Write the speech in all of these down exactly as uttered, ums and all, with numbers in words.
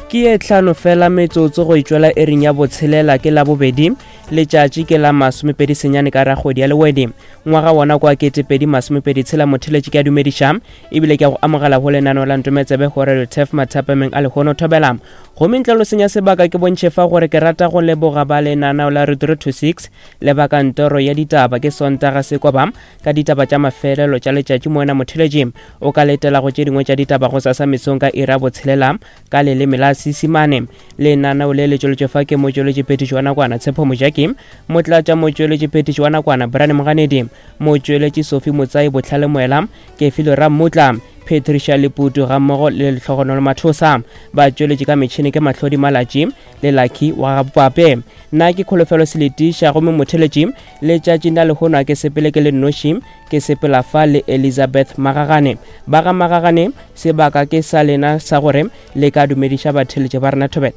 Ke ye hlano fela metsotso go itšwela ering ya botshelela ke Labobedi, letšatši ke la masomepedi senyane ka rakgwedi ya Lewedi, ngwaga wona kwa ketepedi masomepedi tshela. Motheletši ke a dumediša ebile ke a go amogela go lenaneo la Ntometsebe go Radio Turf mathapameng a lehono thobela. Gomme ntle lo senya sebaka ke bontšhe fa gore ke rata go leboga ba lenaneo la three two six le ba kantoro ya ditaba ke Sontaga Sekoba ka ditaba tša mafelelo tša letšatši. Moena motheletši o ka letela go tše dingwe tša ditaba go sasa mesong ka iri ya botshelela ka leleme la Seesimane. Lenaneo le le tšweletšwe fa ke motšweletši phetiši wa nakwana Tshepo Mojaki, motlatša motšweletši phetiši wa nakwana Brian Moganedi, motšweletši Sophie Motsai Botlhale Moela, Kefilo Rammutla, Patricia Leputu gammogo le Lehlogonolo Mathosa. Ba tšweletše ka metšhene ke Mahlodi Malatši le Lucky wa Gabopape. Nna ke Kholofelo Seletiša, gomme motheletši letšatšing la lehono a ke sepele ke le nnoši, ke sepela fa le Elizabeth Magagane. Ba ga Magagane, sebaka ke sa lena sa gore le ka dumediša batheletši ba rena thobela.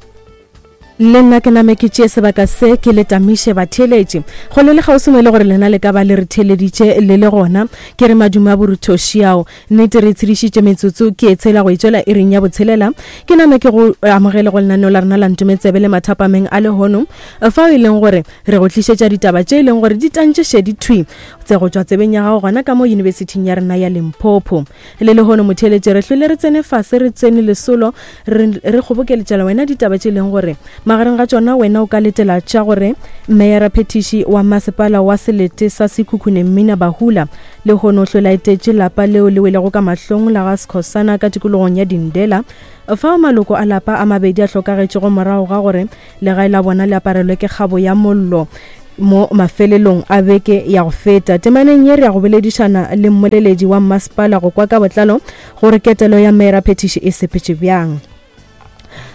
Le nna ke name ke tšee sebaka se ke le tamiše batheeletši go le le kgauswi mo e le gore lena le ka ba le re theeleditše le le gona. Ke re madume a boruthoši ao nnete re tshedišitše metsotso ke e tshela go itšwela iring ya botshelela. Ke name ke go amogele go lenaneo la rena la Ntometsebe le mathapameng a lehono, fao e leng gore re go tlišetša ditaba tše e leng gore di tantše šedi thwi tse go tšwa tsebeng ya gago gona ka mo yunibesithing ya rena ya Limpopo. Le lehono motheeletši re hlwele re tsene fase re tsene lesolo re re kgobokeletšela wena ditaba tše e leng gore magareng ga tšona wena o ka letela tša gore meyara phetiši wa masepala wa selete sa Sekhukhune Mmina Bahula lehono o hlwela etetše lapa leo le welego ka mahlong la ga Skhosana ka tikologong ya Dindela, fao maloko a lapa a mabedi a hlokagetšego morago ga gore legae la bona le aparelwe ke kgabo ya mollo mo mafelelong a beke ya go feta. Temaneng ye re ya go boledišana le mmoleledi wa mmasepala go kwa ka botlalo gore ketelo ya meyara phetiši e sepetše bjang.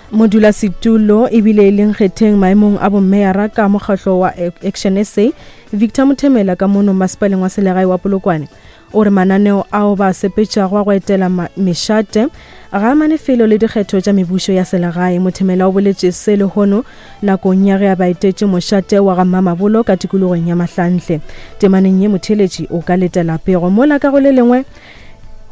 Modulasetulo ebile e leng kgetheng maemong a bommeyara ka mokgahlo wa Action S A Victor Mothemela ka mono masepaleng wa selegae wa Polokwane o re mananeo ao ba sepetšago a go etela mešate ga amane felo le dikgetho tša mebušo ya selegae. Mothemela o boletše se lehono nakong ya ge a ba etetše mošate wa ga Mamabolo ka tikologong ya Mahlanhle. Temaneng ye motheletši o ka letela pego mola ka go le lengwe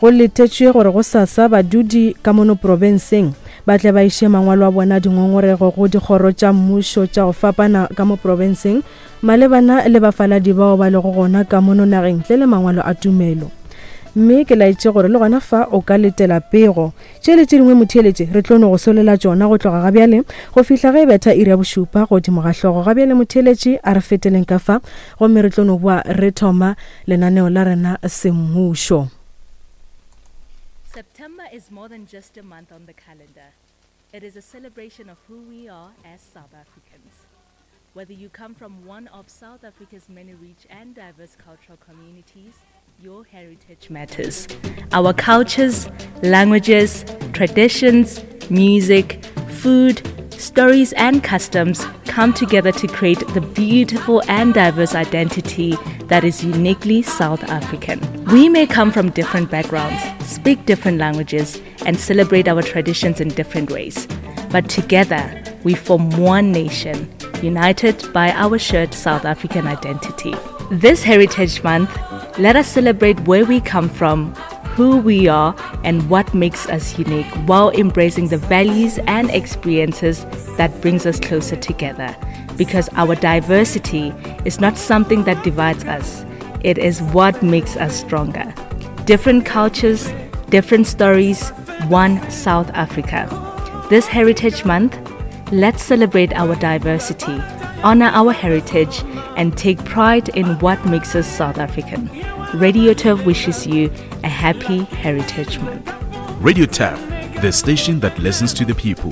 go letetšwe gore go sasa badudi ka mono profenseng ba tle ba iše mangwalo a bona dingongorego go dikgoro tša mmušo tša go fapana ka mo profenseng malebana le bafaladi bao ba lego gona ka mono nageng ntle le mangwalo a tumelo. Mme ke laetše gore le gona fa o ka letela pego. Tše le tše dingwe motheeletše re tlo no go solela tšona go tloga ga bjale go fihla ge e betha iri ya bošupa godimo ga hlogo. Ga bjale motheeletše a re feteleng ka fa gomme re tlo no boa re thoma lenaneo la rena semmušo. September is more than just a month on the calendar. It is a celebration of who we are as South Africans. Whether you come from one of South Africa's many rich and diverse cultural communities, your heritage matters. Our cultures, languages, traditions, music, food, stories and customs come together to create the beautiful and diverse identity that is uniquely South African. We may come from different backgrounds, speak different languages, and celebrate our traditions in different ways. But together, we form one nation, united by our shared South African identity. This Heritage Month, let us celebrate where we come from, who we are, and what makes us unique, while embracing the values and experiences that brings us closer together. Because our diversity is not something that divides us, it is what makes us stronger. Different cultures, different stories, one South Africa. This Heritage Month, let's celebrate our diversity, honor our heritage, and take pride in what makes us South African. Radio Turf wishes you a happy Heritage Month. Radio Turf, the station that listens to the people.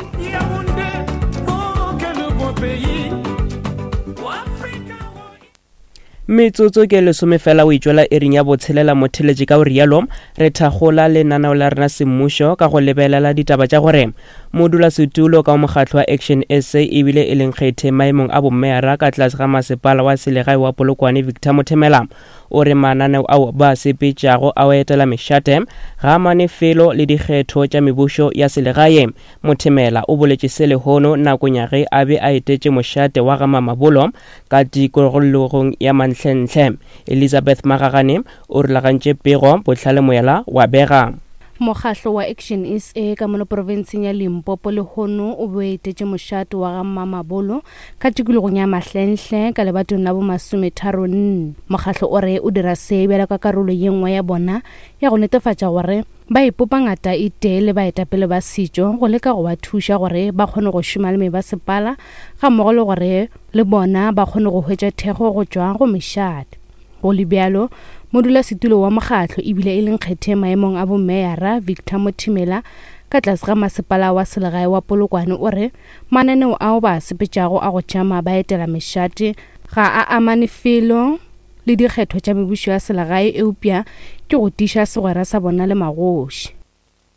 Metsotso ke lesome fela o itšwela ering ya botshelela motheletši ka o rialo re thagola lenaneo la rena semmušo ka go lebelela ditaba tša gore modulasetulo ka mokgatlo wa Action S A ebile e leng kgethe maemong a bommeyara ka tlase ga masepala wa selegae wa Polokwane Victor Mothemela o re mananeo ao ba sepetšago a o etela mešate ga amane felo le dikgetho tša mebušo ya selegae. Mothemela o boletše se lehono nakong ya ge a be a etetše mošate wa ga Mamabolo ka tikologong ya Manhlenhle. Elizabeth Magagane o rulagantše pego Botlhale Moela wa bega. Mokgahlo wa Action S A ka mono profenseng ya Limpopo lehono o boetetše mošate wa ga Mamabolo ka tikologong ya Mahlenhle ka lebatong la bomasometharo nne. Mokgahlo o re o dira se bjalo ka karolo ye nngwe ya bona ya go netefatša gore ba ipopa ngata e tee le baetapele ba setšo go leka go ba thuša gore ba kgone go šoma le mebasepala ga mmogo le gore le bona ba kgone go hwetša thekgo go tšwa go mešate. Go le bjalo, modulasetulo wa mokgahlo ebile e leng kgethe maemong a bomeyara Victor Mothimela ka tlase ga masepala wa selegae wa Polokwane o re mananeo ao ba sepetšago a go tšama ba etela mešate ga a amane felo le dikgetho tša mebušo ya selegae eupša ke go tiiša segwera sa bona le magoši.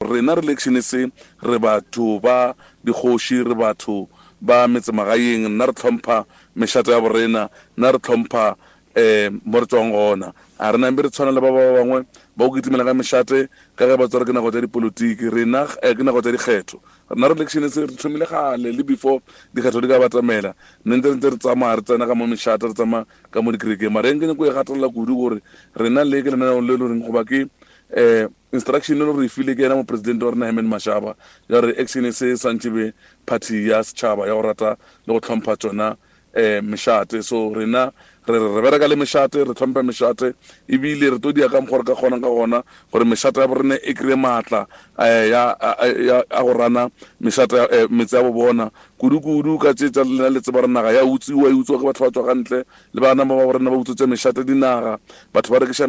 Rena re election se re batho ba dikgoši, re batho ba metsemagaeng, nna re hlompha mešate ya borena, nna re hlompha eh mo re tswang gona. A re nambe re tshwana le ba ba bangwe ba go kitimela ka mešate ka ge ba tsware ke nako tša dipolotiki, rena ke nako tša dikgetho. Rena re election se re thomile kgale le before dikgetho di ka batamela, nne ntse re ntse re tsamaya re tsena ka mo mešate, re tsamaya ka mo dikerekeng. Mara eng ke nyako e gatelela kudu gore rena le ke lenaneo le le reng goba ke eh instruction le re file ke yena mopresidente wa rena Herman Mashaba ya gore Action se swantše be party ya setšhaba ya go rata le go hlompha tšona eh mešate. So rena re re bereka le mešate, re hlompha mešate ebile re tlo dia ka mokgwa re ka kgonang ka gona gore mešate ya borena e kry-e maatla ya a go rana mešate metse ya bo bona kudu-kudu ka tše tša lena le tseba re naga ya utsiwa, e utsiwa ke batho ba tswa ka ntle le bana ba ba borena ba utswetsa mešate dinaga, batho ba rekiša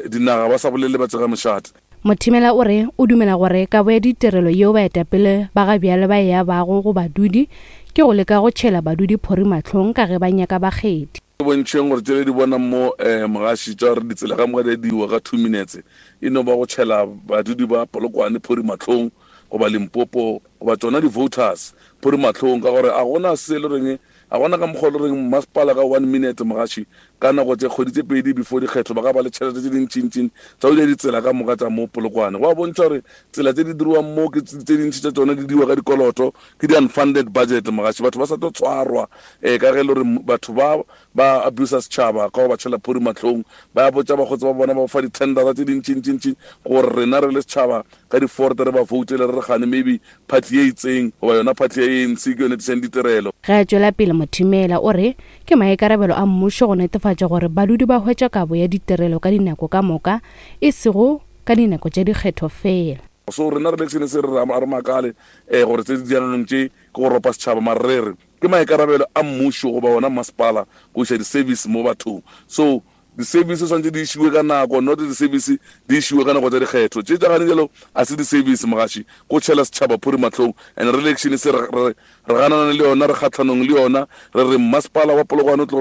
dinaga ba sa bolele ba tsega mešate. Mothimela o re o dumela gore kabo ya ditirelo yeo baetapele ba ga bjale ba e abago go badudi ke go leka go tšhela badudi phori mahlong ka ge ba nyaka bakgethi. Bontšheng gore tšele di bona mo eh mogaši tša gore ditsela ka moka di diwa ka two minutes e no ba go tšhela badudi ba Polokwane phori mahlong goba Limpopo goba tšona di-voters phori mahlong, ka gore a gona se le reng a gona ka mokgwa le reng masepala ka one minute mogaši ka nako tše kgwedi tše pedi before dikgetho ba ka ba le tšhelete tše dintšintšing tša go dira ditsela ka moka tša mo Polokwane. Go a bontšha gore tsela tše di diriwang mo ke tše dintši tša tšona di diwa ka dikoloto, ke di-unfunded budget mogaši, batho ba sa tlo tshwarwa um ka ge e le gore batho ba ba abusa setšhaba ka go ba tšhela phori mahlong, ba botša bakgotsi ba bona ba fa di-tendera tše dintšintšintši gore rena re le setšhaba ka di-forte re ba voutele re re gane maybe party ye itseng goba yona party ya A N C ke yone tlišang ditirelo. Ge a tšwela pele Mothimela o re ke maikarabelo a mmušo go netefatša gore badudi ba hwetša kabo ya ditirelo ka dinako ka moka e sego ka dinako tša dikgetho fela. So rena re election se re re makale eh gore tse di dianang tše ke go ropa setšhaba, mara re re ke maikarabelo a mmušo goba ona masepala go iša di-service mo bathong. So di-service tshwanetse di išiwe ka nako, not di-service di išiwe ka nako tša dikgetho. Tše tša gane jalo a se di-service mogaši, go tšhela setšhaba phori mahlong. And re election se re re ganana le yona, re kgatlhanong le yona, re re masepala wa Polokwane o tlo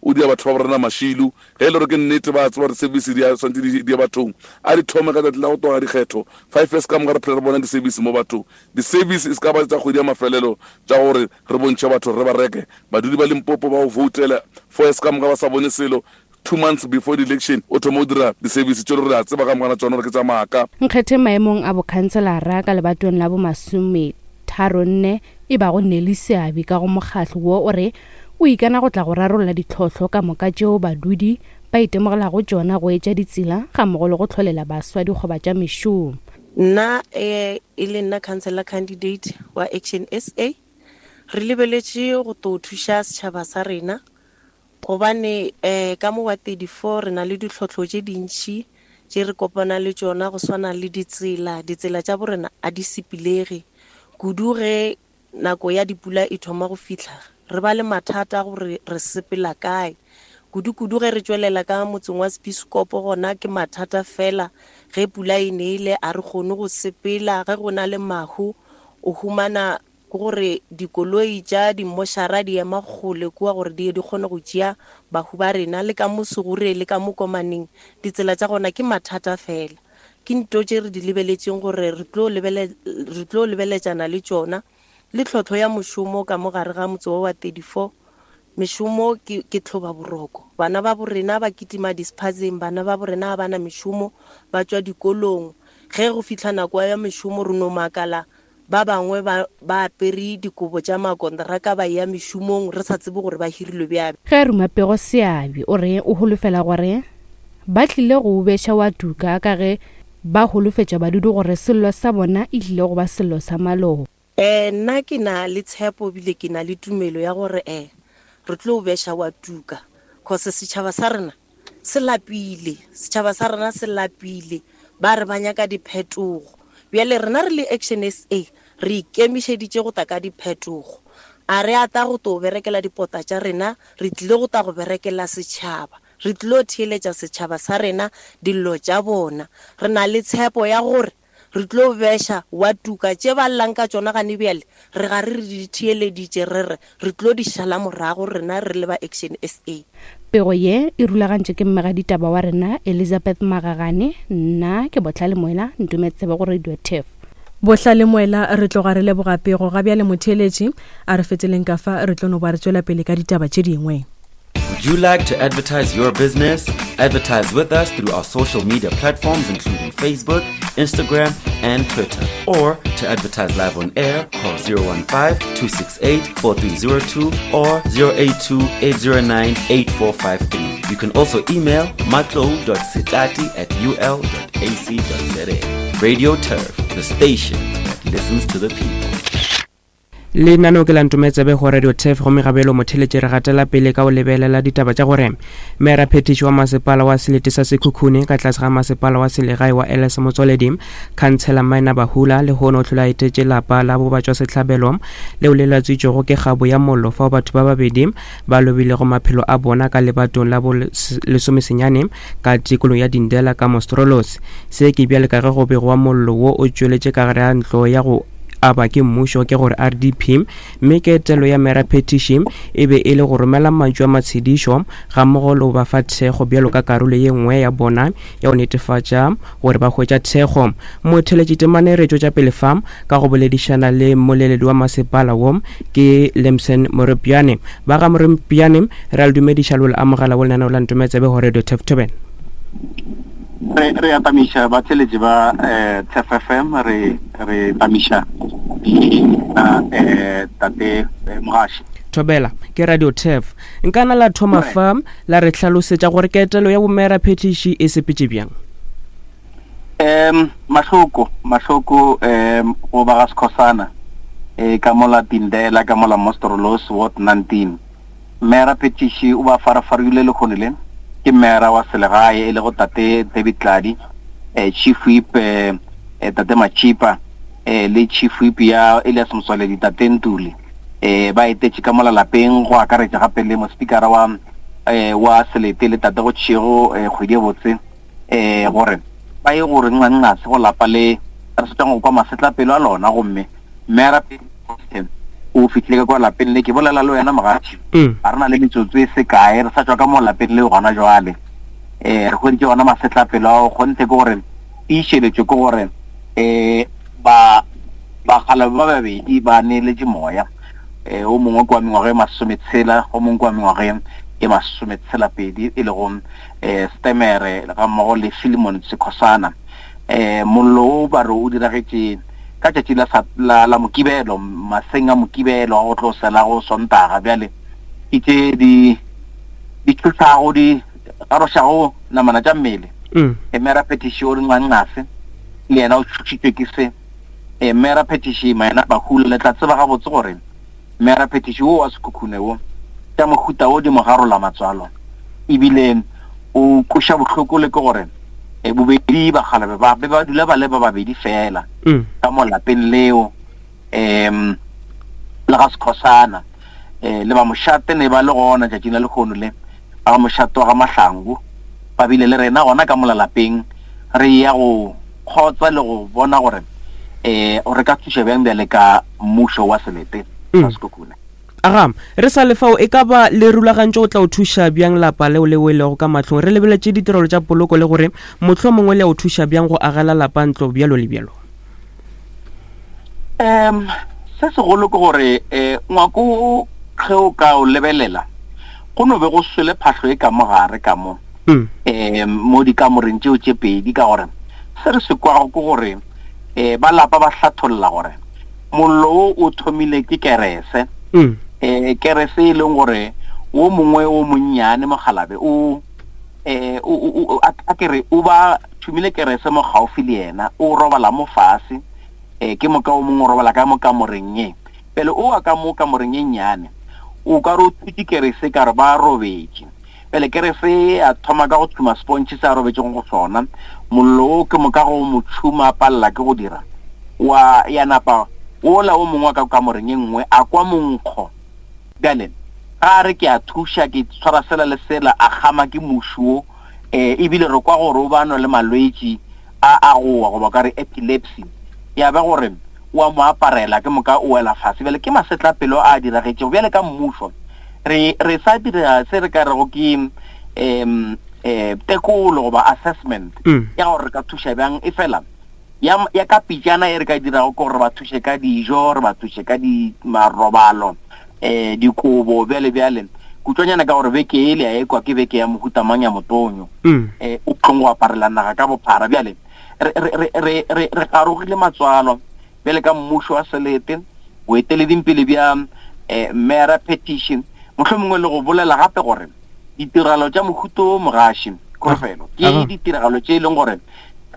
o dia batho ba borena mašilu. Ge e le gore ke nnete ba tseba gore service di a tshwanetse di ye bathong, a di thome ka tsatsi la go tloga dikgetho five years ka moka re phela re bona di-service mo bathong. Di-service e se ka ba tša kgwedi ya mafelelo tša gore re bontšhe batho re ba reke. Badudi ba Limpopo ba go voutela four years ka moka ba sa bone selo, two months before the election o thoma o dira di-service tše re a tseba ka mogana tsona gore ke tša maaka. Nkgethe maemong a bokhanselara ka lebatong la bomasometharo nne e bago Nelly Seabi ka go mokgahlo wo o re o ikana go tla go rarolla ditlhohlo ka moka tšeo badudi ba itemogelago tšona go etša ditsela ga mmogo le go hlolela baswa dikgoba tša mešomo. Nna e le nna councillor candidate wa Action S A, re lebeletše go tlo thuša setšhaba sa rena gobane eh ka mo wa thirty-four re na le ditlhohlo tše dintši tše re kopana le tšona go swana le ditsela. Ditsela tša borena a di sepilege kudu ge nako ya dipula e thoma go fihla, re ba le mathata gore re sepela kae. Kudu-kudu ge re tšwelela ka motseng wa Spiskopo gona ke mathata fela, ge pula e nele a re kgone go sepela, ge go na le mahu o humana gore dikoloi tša dimošara di ema kgole kua gore di di kgone go tšea bahu ba rena. Le ka mo Segure le ka mo Komaneng ditsela tša gona ke mathata fela. Ke nto tše re di lebeletšeng gore re tlo lebele, re tlo lebeletšana le tšona. Le tlhotlho ya mošomo ka mo gare ga motse wa thirty-four, mešomo ke, ke tlhoba boroko. Bana ba borena ba kitima dispatseng, bana ba borena ba na mešomo, ba tšwa dikolong. Ge go fihla nako ya mešomo re no makala ba bangwe ba, ba apere dikobo tša makontraka ba ya mešomong re sa tsebe gore ba hirilwe bjang. Ge a ruma pego Seabi o re o holofela gore ba tlile go beša wa tuka ka ge Ba holofetša badudi gore sello sa bona e tlile go ba sello sa maloba. Eh nna ke na le tshepo bile ke na le tumelo ya gore eh re tlo beša wa tuka cause setšhaba sa rena se lapile, setšhaba sa rena se lapile, ba re ba nyaka diphetogo. Bjale rena re le Action S A re ikemišeditše go tla ka diphetogo. A re a tla go to berekela dipota tša rena, re tlile go tla go berekela setšhaba. Re tlilo theeletša setšhaba sa rena dillo tša bona. Re na le tshepo ya gore re tlo beša wa tuka tše ba llang ka tšona gane bjale, re ga re re di theeleditše, re re re tlo di šala morago rena re le ba Action S A. Pego ye e rulagantšwe ke mmegaditaba wa rena Elizabeth Magagane, nna ke Bohlale Moela, Ntometsebe go Radio Turf. Bohlale Moela, re tloga re leboga pego. Ga bjale motheeletši, a re feteleng ka fa, re tlo no ba re tšwela pele ka ditaba tše dingwe. Would you like to advertise your business? Advertise with us through our social media platforms including Facebook, Instagram, and Twitter. Or to advertise live on air, call zero one five, two six eight, four three zero two or zero eight two, eight zero nine, eight four five three. You can also email matlo dot setati at u l dot a c dot z a. Radio Turf, the station that listens to the people. Lenaneo ke la Ntometsebe go Radio Turf, gomme gabelo motheletše re gatela pele ka go lebelela ditaba tša gore mera phetiši wa masepala wa selete sa Sekhukhune ka tlase ga masepala wa selegae wa L S Motswaledi, Khansela Maina Bahula, lehono o hlola etetše lapa la bobatšwa sehlabelo leo le latswitšwego ke kgabo ya mollo fao batho ba babedi ba lobilego maphelo a bona ka lebatong la bo lesomesenyane ka tikolong ya Dindela ka Monsterlus. Se ke bjale ka ge go begwa mollo wo o tšweletše ka gare ga ntlo ya go aba ke mmušo ke gore R D P, mme ketelo ya mera phetiši e be e le go romela mantšu a matshedišo ga mmogo le go ba fa thekgo bjalo ka karolo ye nngwe ya bona ya go netefatša gore ba hwetša thekgo. Motheletši temane re tšwetša pele fa ka go boledišana le mmoleledi wa masepala wo ke Lemson Morepiane. Ba ga Morepiane, re a le dumediša le go le amogela go lenaneo la Ntometsebe go Radio Turf Thobela. Re, re atamiša batheletši ba, eh, Turf F M, re, re tamiša na, eh, tate, eh, Mogaši. Thobela ke Radio Turf. Nkana la thoma Right. fa la re hlalosetša gore ketelo ya bomera phetiši e sepetše bjang? Em, mahloko, mahloko, em, go ba ga Skhosana, eh, ka mola Dindela, ka mola Monsterlus, Ward nineteen. Mera phetiši o ba farafarile lekgono le, ke mera wa selegae e lego tate David Tladi, eh, Chief Whip, eh, eh, tate Machipa, eh, le Chief Whip ya Elias Motswaledi tate Ntuli. Eh, ba etetše ka mola lapeng go akaretša gape le mospikara wa, eh, wa selete le tate go Tšhego, eh, kgwedi e botse, eh, gore ba ye gore nqanqase go lapa le re setšang go kwa masetlapelo a lona. Gomme mera o fihlile ka kwa lapeng le, ke bolela le wena mogatši. Mm. Ga re na le metsotso e se kae, re sa tšwa ka mo lapeng le gona jwale. Eh, re hweditše gona masetlapelo ao, kgonthe ke gore tiišeletšo ke gore, eh, ba, bagala ba babedi ba neeletše moya. Eh, o mongwe ke wa mengwaga e masometshela, o mongwe ke wa mengwaga e masometshela pedi, e lego, eh, Stemere ga mmogo le Philemon Sekhosana. Eh, mollo o ba re o diragetše ka tšatši la sa-, la, la Mokibelo, maseng a Mokibelo a go tlo sela go Sontaga. Bjale ke tše di, di tšhošago, di garošago namana tša mmele. Mm. E, mera phetiši o re nqanqase, le yena o tšhošitšwe ke se. E, mera phetiši Maina Bahula, le tla tseba gabotse gore mera phetiši wo wa Sekhukhune wo, tša mohuta wo di mo garola matswalo, ebile o kweša bohloko le ke gore, e, bobedi bakgalabe ba be ba dula ba le ba babedi fela Mm. ka mo lapeng leo, em, le ga Skhosana, eh, le ba mošate ne ba le gona tšatšing la lekgono le, ba ga mošate wa ga Mahlangu ba bile le rena gona ka mola lapeng, re ya go kgotsa le go bona gore, eh, re ka thuša bjang bjale ka mmušo wa selete Mm. sa Sekhukhune. Aga, re sa le fao, e ka ba le rulagantšo o tla o thuša bjang lapa leo le welego ka mahlong? Re lebeletše ditirelo tša poloko le gore mohlomongwe le a o thuša bjang go agela lapa ntlo bjalo le bjalo? Em, se segolo ke gore, eh, ngwako ge o ka o lebelela, go no be go swele phahlo e ka mo gare ka mo. Mm. Eh, mo dikamoreng tšeo tše pedi, ka gore se re se kwago ke gore, eh, ba lapa ba hlatholla gore mollo wo o thomile ke kerese. Mm. Eh, kerese e leng gore wo mongwe o monnyane mokgalabe o, eh, o, o, o, a, a ke re o ba tšhumile kerese mo gaufi le yena, o robala mo fase, eh ke moka o mongwe o robala ka mo kamoreng ye. Pele o wa ka mo kamoreng ye nnyane, o ka re o thutše kerese ka re ba robetše. Pele kerese a thoma ka go tšhuma sponge se a robetšego go sona, mollo o ke moka go mo tšhuma a palela ke go dira. Wa ya napa ola o mongwe wa ka kamoreng ye nngwe a kwa monkgo. Bjale ga re ke a thuša ke tshwara sela le sela, a gama ke muši wo, eh ebile re kwa gore o ba nwa le malwetši a a gowa goba ka re epilepsy, ya ba gore wa mo aparela ke moka o wela fase. Bjale ke masetlapelo a diragetšego. Bjale ka mmušo re re sa dira se re ka rego ke em eh tekolo goba assessment ya gore re ka thuša bjang, e fela ya ya ka pitšana e re ka dirago ke gore re ba thuše ka dijo, re ba thuše ka di marobalo, eh dikobo bjale bjale. Kutswanyana ka gore beke e le ya ekwa ke beke ya mohuta mang ya motonyo, eh o tlong go aparela naga ka bophara. Bjale re re re re re garogile matswalo bjale ka mmušo wa selete, boeteledingpele bja eh mera petition, mohlomongwe le go bolela gape gore ditiragalo tša mohuta o mogaši kgofelo ke ditiragalo tše e leng gore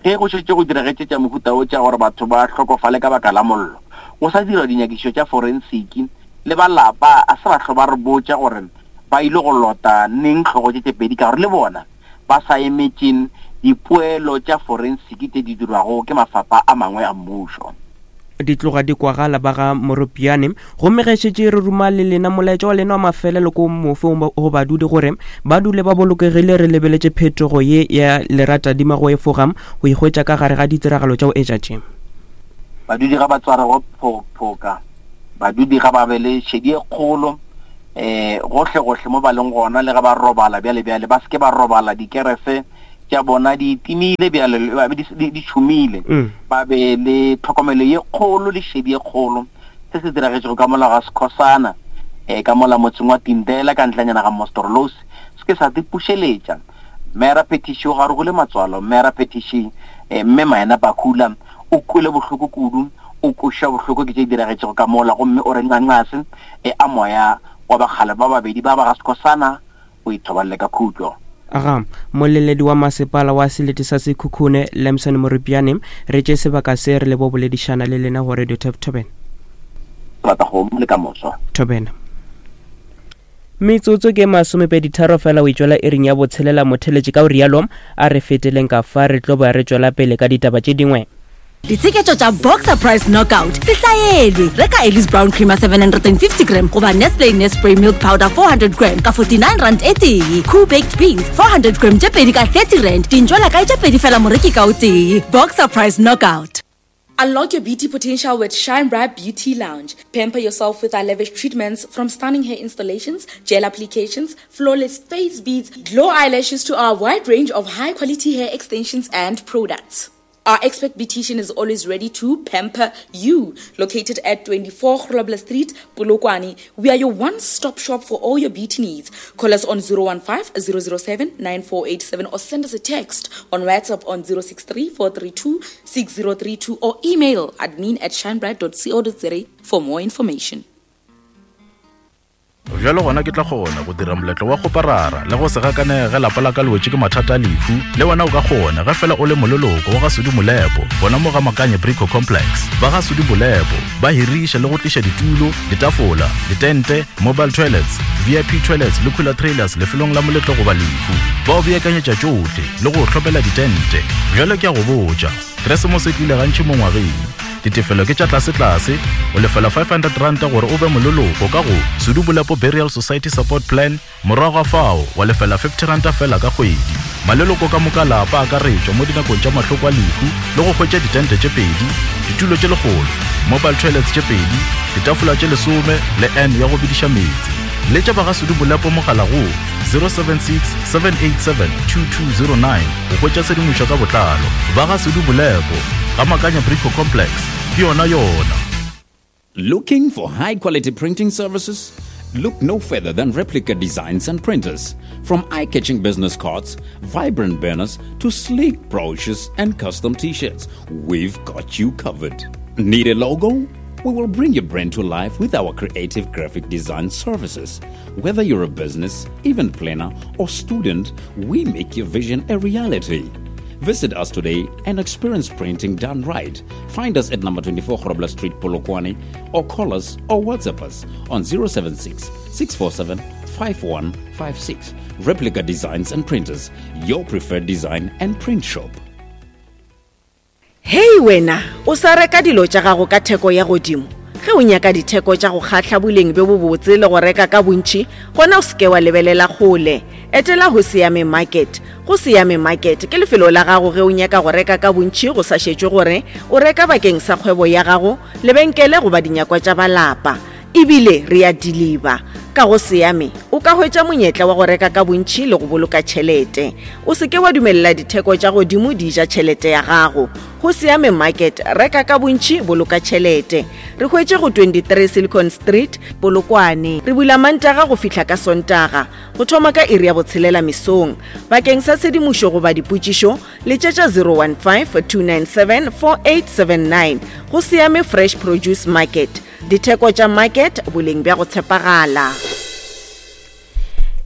ge go šetše go diragetše tša mohuta o tša gore batho ba hlokofale ka baka la mollo, go sa dirwa dinyakišišo tša forensiki le ba lapa a se ba hlo ba re botša gore ba ile go lota neng hlogo tše tše pedi, ka gore le bona ba sa emetše dipoelo tša forensiki tše di dirwago ke mafapha a mangwe a mmušo. Di tloga di kwagala ba ga Moropiane. Gomme ge šetše re ruma le lena molaetša wa lena wa mafelelo ko mofe go badudi gore ba dule ba bolokegile, re lebeletše phetogo ye ya leratadima go efoga go ikgwetša ka gare ga ditiragalo tša go etša tše. Badudi ga ba tsware go phoka, badudi ga ba be le šedi e kgolo, eh gohle gohle mo ba leng gona, le ga ba robala bjale bjale ba seke ba robala dikerese tša bona di timile bjale di tšhumile, ba be le tlhokomelo ye kgolo le šedi ye kgolo. Se se diragetšego ka mola ga Skhosana, eh ka mola motseng wa Tindela ka ntlanyana ga Mostorlos, se ke sa dipušeletša. Mera petition ga rogole matswalo, mera petition eh mme Maena Bakula o kwele bohloko kudu, o koša bohloko ke tše diragetšego ka mola, gomme o re nqanqase e a moya wa bakgale ba babedi ba ba ga Skhosana o ithoballe ka khutlo. Aga moleledi wa masepala wa selete sa Sekhukhune Lamson Moropiane, re tše sebaka se re le bo boledišana le lena go Radio Thobela. Rata go le ka moso. Thobela. Metsotso ke masomepedi tharo fela o itšwela ering ya botshelela motheletše, ka o rialo a re feteleng ka fa re tlo ba re tšwela pele ka ditaba tše dingwe. Ditsheketšo tša Boxer Price Knockout se hlaelwe. Reka Ellis Brown Creamer seven hundred and fifty gram goba Nestle Nespray Milk Powder four hundred gram ka forty-nine rand e tee. Cool Baked Beans four hundred gram tše pedi ka thirty rand. Dintšwela kae tše pedi fela moreki ka o tee. Boxer Price Knockout. Unlock your beauty potential with Shine Bright Beauty Lounge. Pamper yourself with our lavish treatments, from stunning hair installations, gel applications, flawless face beads, glow eyelashes to our wide range of high-quality hair extensions and products. Our expert beautician is always ready to pamper you. Located at twenty-four Grobler Street, Polokwane, we are your one-stop shop for all your beauty needs. Call us on zero one five, zero zero seven, nine four eight seven or send us a text on WhatsApp on zero six three, four three two, six zero three two or email admin at shinebright dot co dot za for more information. Bjalo gona ke tla kgona go dira moletlo wa go parara le go se gakanege lapa la ka le wetše ke mathata a lehu. Le wena o ka kgona ge fela o le moleloko wa ga Sudi Molepo, gona mo ga Makanye Brico Complex. Ba ga Sudi Molepo ba hiriša le go tliša ditulo, ditafola, ditente, mobile toilets, V I P toilets le cooler trailers lefelong la moletlo goba lehu. Ba o beakanyetša tšohle le go hlopela ditente. Bjalo ke a go botša, Keresemose e tlile gantši mo ngwageng. Ditefelo ke tša tlase-tlase, o lefela five hundred rand gore o be moleloko ka go Sudi Molepo Burial Society Support Plan, morago ga fao wa lefela fifty rand fela ka kgwedi. Maleloko ka moka lapa akaretšwa mo dinakong tša mahloko a lehu le go hwetša ditente tše pedi, ditulo tše lekgolo, mobile toilets tše pedi, ditafola tše lesome le N ya go bidiša meetse. Letša ba ga Sudi Molepo mogala go zero seven six, seven eight seven, two two zero nine go hwetša tshedimošo ka botlalo. Ba ga Sudi Molepo ga Makanya Brico Complex, ke yona yona. Looking for high quality printing services? Look no further than Replica Designs and Printers. From eye-catching business cards, vibrant banners, to sleek brochures and custom t-shirts, we've got you covered. Need a logo? We will bring your brand to life with our creative graphic design services. Whether you're a business, event planner, or student, we make your vision a reality. Visit us today and experience printing done right. Find us at number twenty-four Grobler Street, Polokwane, or call us or WhatsApp us on zero seven six, six four seven, five one five six. Replica Designs and Printers, your preferred design and print shop. Hey wena, o sa reka dilo tša gago ka theko ya godimo. Ge o nyaka ditheko tša go kgahla boleng bjo bobotse le go reka ka bontši, gona o seke wa lebelela kgole. Etela go Siame Market. Go Siame Market ke lefelo la gago ge o nyaka go reka ka bontši go sa šetšwe gore o reka bakeng sa kgwebo ya gago, lebenkele goba dinyakwa tša balapa. Ebile re a deliver. Ka go Siame o ka hwetša monyetla wa go reka ka bontši le go boloka tšhelete. O seke wa dumelela ditheko tša godimo di ja tšhelete ya gago. Go Siame Market, reka ka bontši, boloka tšhelete. Re hwetše go twenty-three Silicon Street, Polokwane. Re bula Mantaga go fihla ka Sontaga, go thoma ka iri ya botshelela mesong. Bakeng sa tshedimošo goba dipotšišo, letšetša zero one five, two nine seven, four eight seven nine. Go Siame Fresh Produce Market. Ditheko tša market, boleng bja go tshepagala.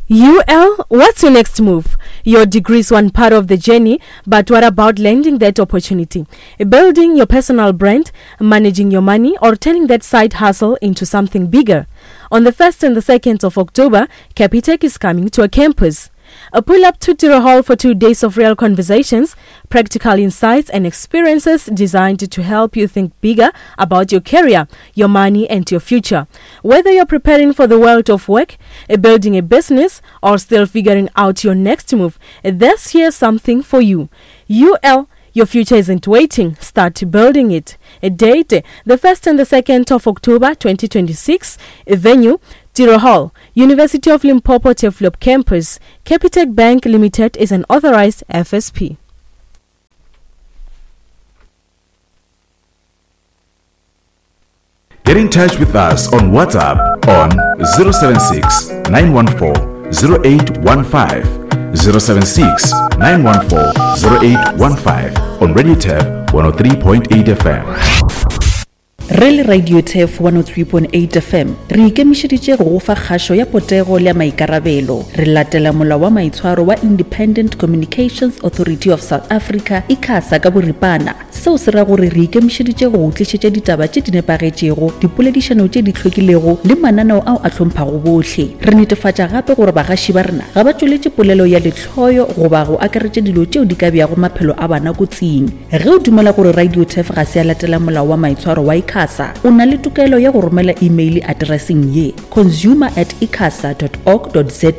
U L, what's your next move? Your degree is one part of the journey, but what about landing that opportunity? Building your personal brand, managing your money, or turning that side hustle into something bigger? On the first and the second of October, Capitec is coming to a campus. A pull up to Tiro Hall for two days of real conversations, practical insights and experiences designed to help you think bigger about your career, your money and your future. Whether you're preparing for the world of work, building a business or still figuring out your next move, this here's something for you. U L, your future isn't waiting. Start building it. A date, the first and the second of October twenty twenty-six. A venue, Tiro Hall, University of Limpopo Turfloop Campus. Capitec Bank Limited is an authorized F S P. Get in touch with us on WhatsApp on zero seven six, nine one four, zero eight one five, zero seven six, nine one four, zero eight one five on Radio Turf one oh three point eight F M. Re le Radio Turf one oh three point eight F M re ikemišeditše go go fa kgašo ya potego le ya maikarabelo. Re latela molao wa maitshwaro wa Independent Communications Authority of South Africa, ICASA ka boripana. Seo se ra gore re ikemišeditše go go tlišetša ditaba tše di nepagetšego, dipoledišano tše di hlwekilego le mananeo ao a hlomphago bohle. Re netefatša gape gore bagaši ba rena ga ba tšweletše polelo ya lehloyo goba go akaretša dilo tšeo di ka beago maphelo a bana kotsing. Ge o dumela gore Radio Turf ga se ya latela molao wa maitshwaro wa ICASA, o na le tokelo ya go romela email addresseng ye consumer at icasa dot org dot za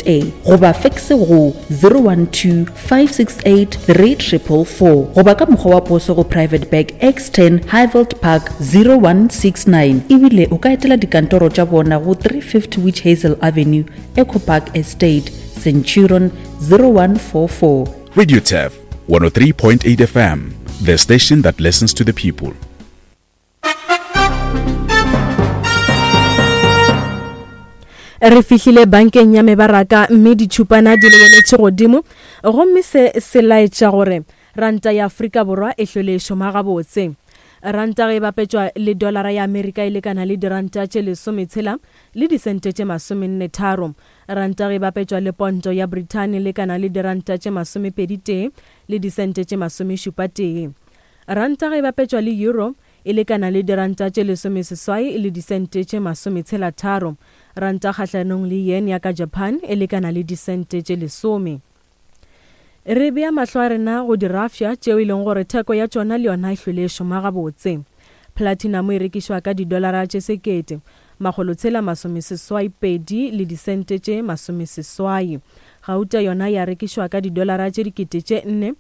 goba fax go zero one two, five six eight, three triple four goba ka mokgwa wa poso go Private Bag X ten Highveld Park zero one six nine. Ebile o ka etela dikantoro tša bona go three fifty Witch Hazel Avenue, Echo Park Estate, Centurion zero one four four. Radio Turf one oh three point eight F M, the station that listens to the people. Re fihlile bankeng ya mebaraka mme ditšhupana di lebeletše godimo, gomme se se laetša gore ranta ya Afrika Borwa e hlwele e šoma gabotse. Ranta ge e bapetšwa le dolara ya Amerika e lekana le diranta tše lesometshela le disente tše masomenne tharo. Ranta ge e bapetšwa le ponto ya Britain e lekana le diranta tše masomepedi tee le disente tše masomešupa tee. Ranta ge e bapetšwa le euro e lekana le diranta tše lesomeseswai le disente tše masometshela tharo. Ranta kgahlanong le yen ya ka Japan e lekana le disente tše lesome. Re bea mahlo a rena go dirafša tšeo e leng gore theko ya tšona le yona e hlwele e šoma gabotse. Platinum e rekišwa ka didolara tše sekete makgolotshela masomeseswai pedi le disente tše masomeseswai. Gauta yona ya rekišwa ka didolara tše dikete tše nne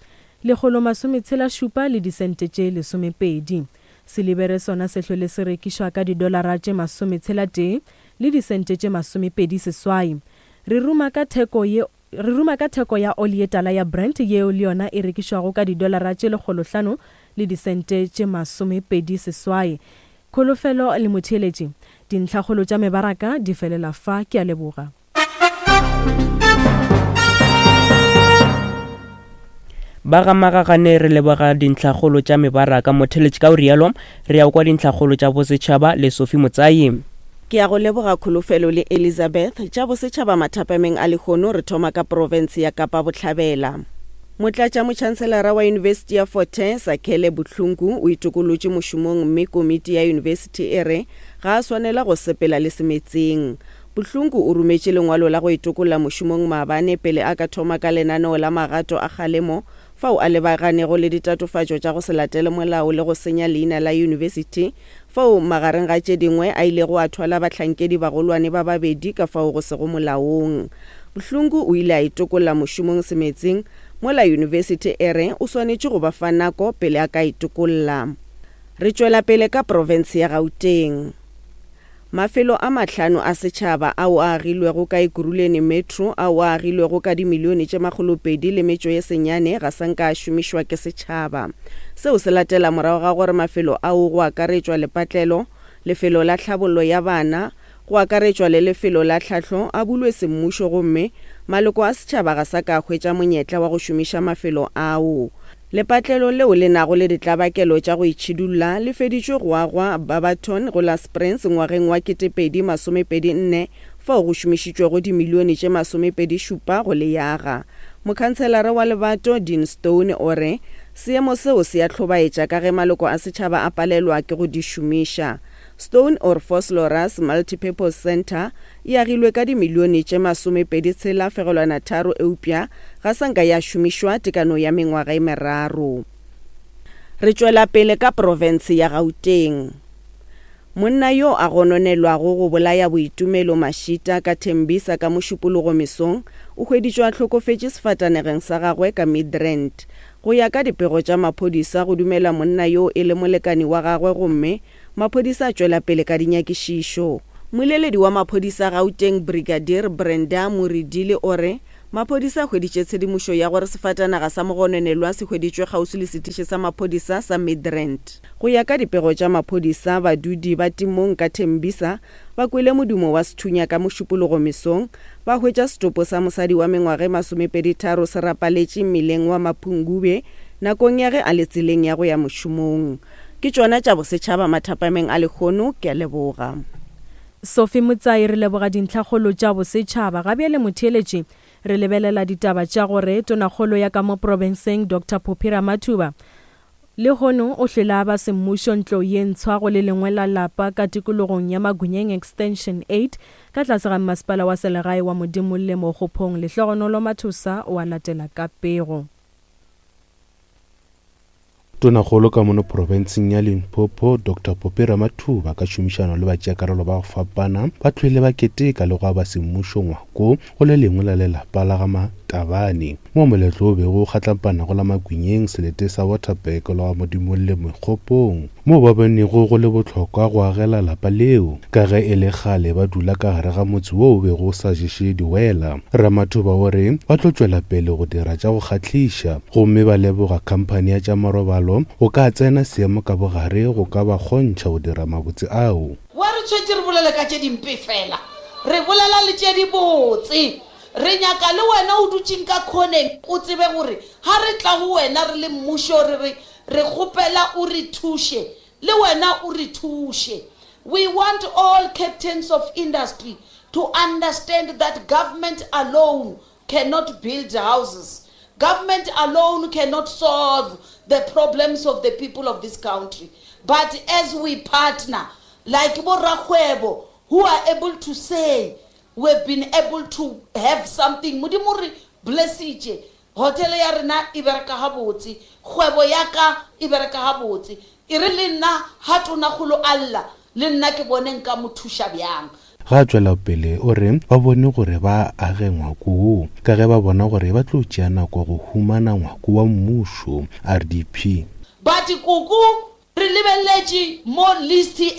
lekgolo masometshela šupa le disente tše lesomepedi. Silibere sona se hlwele se rekišwa ka didolara tše masometshela tee le disente tše masomepedi seswai. Re ruma ka theko ye re ruma ka theko ya oli ye tala ya Brent yeo le yona e rekišwago ka didolara tše lekgolohlano le disente tše masomepedi seswai. Kholofelo le motheeletši, dintlhakgolo tša mebaraka di felela fa. Ke a leboga. Ba ga Magagane re leboga dintlhakgolo tša mebaraka. Motheeletši ka o rialo re ya kwa dintlhakgolo tša bosetšhaba le Sophie Motsai. Ke ya go leboga Kholofelo le Elizabeth. Tša bosetšhaba mathapameng a lehono re thoma ka province ya Kapa Bohlabela. Motlatšamotšhanselara wa Yunibesithi ya Fort Hare, Sakhele Buhlungu, o itokolotše mošomong mme komiti ya yunibesithi e re ga a swanela go sepela le semetseng. Buhlungu o rometše lengwalo la go itokolla mošomong maabane pele a ka thoma ka lenaneo la magato a kgalemo fao a lebaganego le ditatofatšo tša go se latele molao le go senya leina la yunibesithi fao magareng ga tše dingwe a ilego a thwala bahlankedi bagolwane ba babedi ka fao go sego molaong. Buhlungu o ile a itokolla mošomong semetseng mola yunibesithi e re o swanetše go ba fa nako pele a ka itokolla. Re tšwela pele ka profense ya Gauteng. Mafelo a mahlano a setšhaba ao a agilwego ka Ekurhuleni Metro ao a agilwego ka dimilione tše makgolopedi le metšo ye senyane ga sa nka a šomišwa ke setšhaba. Seo se latela morago ga gore mafelo ao go akaretšwa lepatlelo, lefelo la tlhabollo ya bana, go akaretšwa le lefelo la tlhahlo a bulwe semmušo gomme maloko a setšhaba ga sa ka hwetša monyetla wa go šomiša mafelo ao. Lepatlelo leo le nago le ditlabakelo tša go itšhidulla le feditšwe go agwa Barberton go la Springs ngwageng wa ketepedi masomepedi nne fao go šomišitšwego dimilione tše masomepedi šupa go le yaga. Mokhanselara wa Lebato Dean Stone o re seemo seo se a hlobaetša ka ge maloko a setšhaba a palelwa ke go di šomiša. Stone or Vosloorus Multipurpose Centre e agilwe ka dimilione tše masomepedi tshela fegelwana tharo eupša ga sa nka ya šomišwa tekano ya mengwaga e meraro. Re tšwela pele ka profense ya Gauteng. Monna yo a gononelwago go bolaya Boitumelo Mashita ka Tembisa ka Mošupologo mesong o hweditšwe a hlokofetše sefatanegeng sa gagwe ka Midrand. Go ya ka dipego tša maphodisa go dumela monna yo e le molekani wa gagwe gomme maphodisa a tšwela pele ka dinyakišišo. Mmoleledi wa maphodisa Gauteng Brigadier Brenda Muridili o re maphodisa a hweditše tshedimošo ya gore sefatanaga sa mogononelwa se hweditšwe kgauswi le setiši sa maphodisa sa Midrand. Go ya ka dipego tša maphodisa, badudi ba Timong ka Tembisa ba kwele modumo wa sethunya ka Mošupologo mesong, ba hwetša setopo sa mosadi wa mengwaga e masomepedi tharo se rapaletše mmileng wa Mapungubwe nakong ya ge a le tseleng ya go ya mošomong. Ke tšona tša bosetšhaba mathapameng a lehono, ke a leboga. Sophie Motsai re leboga dintlhakgolo tša bosetšhaba. Ga bjale motheeletši re lebelela ditaba tša gore tonakgolo ya ka mo profenseng Doctor Phophi Ramathuba lehono o hlwele ba semmušo ntlo ye ntshwa go le lengwe la lapa ka tikologong ya Magunyeng Extension eight ka tlase ga mmasepala wa selegae wa Modimolle Mokgophong. Lehlogonolo Mathosa o a latela ka pego. Tonakgolo ka mono profenseng ya Limpopo Doctor Phophi Ramathuba ka tšhomišano le batšeakarolo ba go fapana ba tlwele ba keteka le go aba semmušo ngwako go le lengwe la lelapa la ga Matabane mo moletlo o bego o kgatlampana go la Magunyeng selete sa Waterberg le ga Modimolle Mokgopong mo ba bonego go le bohlokwa go agela lapa leo ka ge e le kgale ba dula ka gare ga motse wo o bego o sa ješe diwela. Ramathuba o re ba tlo tšwela pele go dira tša go kgahliša gomme ba leboga khamphani ya tša marobalo go ka tsena seemo ka bogare go ka ba kgontšha go dira mabotse ao. Wa re tshwetše re bolele ka tše dimpe fela, re bolela le tše dibotse. Re nyaka le wena o dutšeng ka khoneng o tsebe gore ha re tla go wena re le mmušo re re re kgopela o re thuše, le wena o re thuše. We want all captains of industry to understand that government alone cannot build houses. Government alone cannot solve the problems of the people of this country. But as we partner, like bo rakgwebo, who are able to say, we've been able to have something. Modimo re blessitše. Hotel ya rena e bereka gabotse, kgwebo ya ka e bereka gabotse. E re le nna ha tonakgolo a lla, le nna ke bone nka mo thuša bjang. Ga tšwela pele o re ba bone gore ba age ngwako wo ka ge ba bona gore ba tlo tšea nako go humana ngwako wa mmušo R D P. But koko re lebeletše mo list e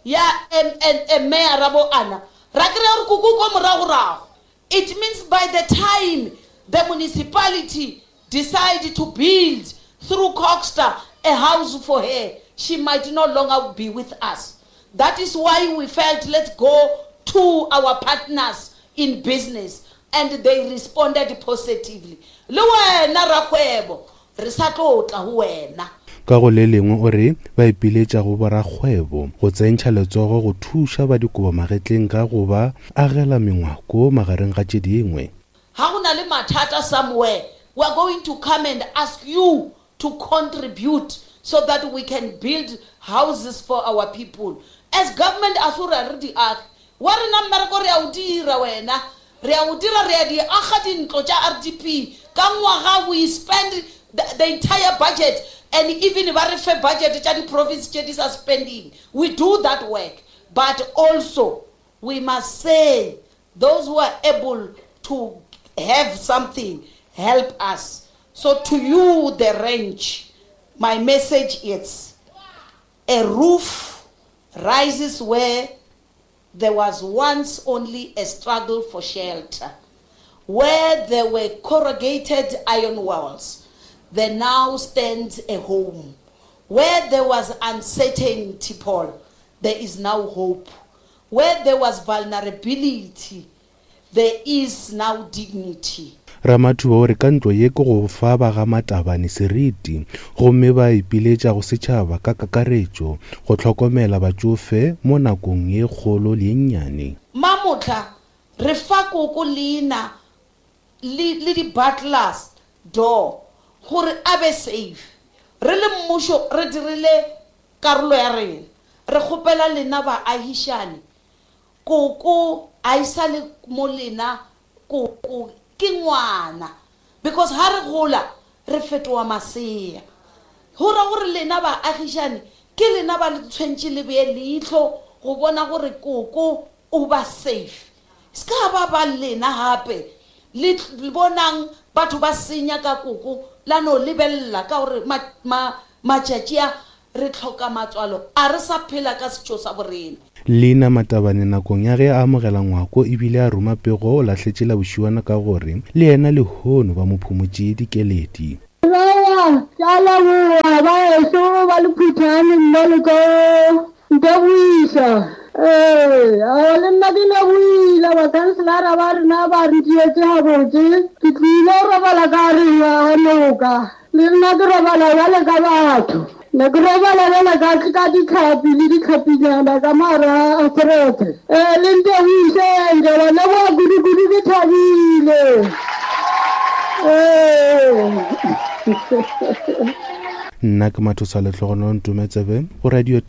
ya M N M mayor bo ana ra kry-a gore koko ko moragorago. It means by the time the municipality decide to build through Coxter a house for her, she might no longer be with us. That is why we felt let's go to our partners in business, and they responded positively. Le wena rakgwebo re sa tlo tla ho wena. Ka go le lengwe o re ba ipiletša go borakgwebo go tsentšha letsogo go thuša ba dikobo magetleng ka go ba agela mengwako magareng ga tše dingwe. Ha go na le mathata somewhere, We are going to come and ask you to contribute so that we can build houses for our people. As government, a se gore ga re di age. Wa rena mmereko re a o dira wena. Re a o dira, re a di aga dintlo tša R D P. Ka ngwaga we spend the, the entire budget, and even ba re fe budget tša di-province tše di sa spending. We do that work. But also, we must say, those who are able to have something, help us. So to you, the ranch, my message is, a roof rises where there was once only a struggle for shelter. Where there were corrugated iron walls, there now stands a home. Where there was uncertainty, Paul, there is now hope. Where there was vulnerability, there is now dignity. Ramathuba o re ka ntlo ye ke go fa ba ga Matabane seriti, gomme ba ipiletša go setšhaba ka kakaretšo go hlokomela batšofe mo nakong ye kgolo le ye nnyane. Mamotla re fa koko leina le, le di-butlers door gore a be safe. Re le mmušo re dirile karolo ya rena. Re kgopela lena baagišane, koko a e sa le mo lena, koko ke ngwana, because ha re gola re fetoha masea. Ho ra gore lena baagišane ke lena ba le tshwantse le bee leihlo go bona gore koko o ba safe. Se ka ba ba lena hape le bonang batho ba senya ka koko la no lebella ka gore ma-, ma-, matšatši a re tlhoka matswalo, a re sa phela ka setšo sa borena. Leina Matabane nakong ya ge a amogela ngwako ebile a roma pego o lahletše la bošiwana ka gore le yena lehono ba mo phumotše dikeledi. Ba, ke a leboha, ba ešo ba le Phuthane nna le ka Ntabuisa. Ee, a le nna ke lebohile bakhanselara ba rena ba re dietse gabotse. Ke tlile go robala ka re ya noka. Le nna ke robala bjale ka batho. Ne ke robala bjale ka, ka ditlhapi le ditlhapinyana ka mara a therete. Ee, le ntebuiseng, ke ba leboha kudu-kudu, ke thabile. Ee. Nna ke Mathosa Lehlogonolo Ntometsebe go Radio